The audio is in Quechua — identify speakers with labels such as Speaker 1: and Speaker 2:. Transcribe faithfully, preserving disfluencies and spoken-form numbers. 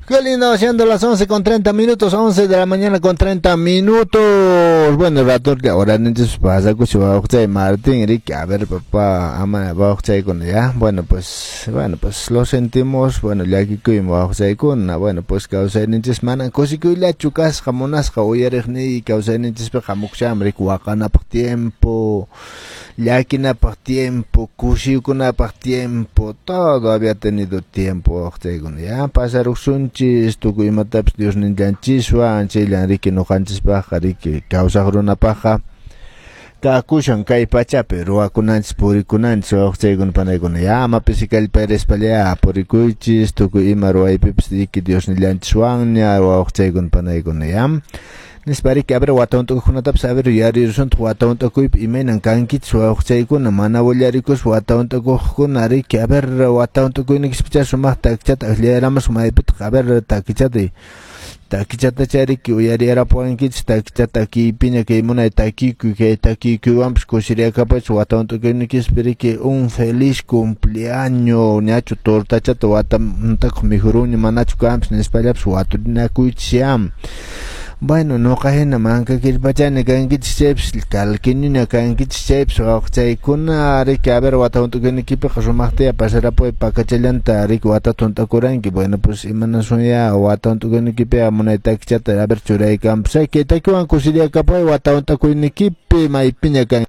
Speaker 1: Qué lindo, siendo las once con treinta minutos, once de la mañana con treinta minutos. Bueno, rato que ahora pasa Martín, Ricky, a ver, papá, ama, con ya. Bueno, pues, bueno, pues lo sentimos, bueno, llakikuymi chaykuna, bueno, pues kawsayninchis mana kusikuyllachu kasqa munasqa uyariqniy kawsayninchispiqa hamukushanmi riki waqanapaq tiempo, llakinapaq tiempo, kusiykunapaq tiempo, todo había tenido tiempo chaykuna, ya pasaruqsunchis tukuy imatapis Diosnillanchiswan chayllan riki ñuqanchispaqqa riki kawsaq runapaqqa kakushan kay pachapi ruwakunanchis purikunanchis wawqichaykuna panaykuna ya ama pisi kallparispalla purikuychis tukuy ima ruwaypipis riki Diosnillanchiswanña wawqichaykuna panaykuna ya nispa riki a ver wata hunt'akuqkunatapas a ver yuyarirusuntaq wata hunt'akuypi imaynan kankichis wawqichaykuna mana willarikuspa wata hunt'akuqkuna riki a ver wata hunt'akuynikispichá sumaqta takichata akllayaramusqa maypitaq a ver takichata takichata riki uyariyarapuwankichis takichata takiypiña kay munay takikuy kay takikuywanpas kusiriyakapachis wata hunt'akuynikispi riki un feliz cumpleaños ñachu tortachata wata hunt'akuq mikhurunña manachu kanpis nispallapas waturinakuychis ya. Bueno, nuqa hina manka killpachani kankichis chaypis kalkiñuña kankichis chaypis wawqichaykuna riki a ver wata hunt'akuynikipiqa sumaqtaya pasarapuy pakachallanta riki watata hunt'akuranki bueno pues imanasun ya wata hunt'akuynikipi munay takichata a ver churaykanpis kay takiwan kusiriyakapuy wata hunt'akuynikipi maypiña kan.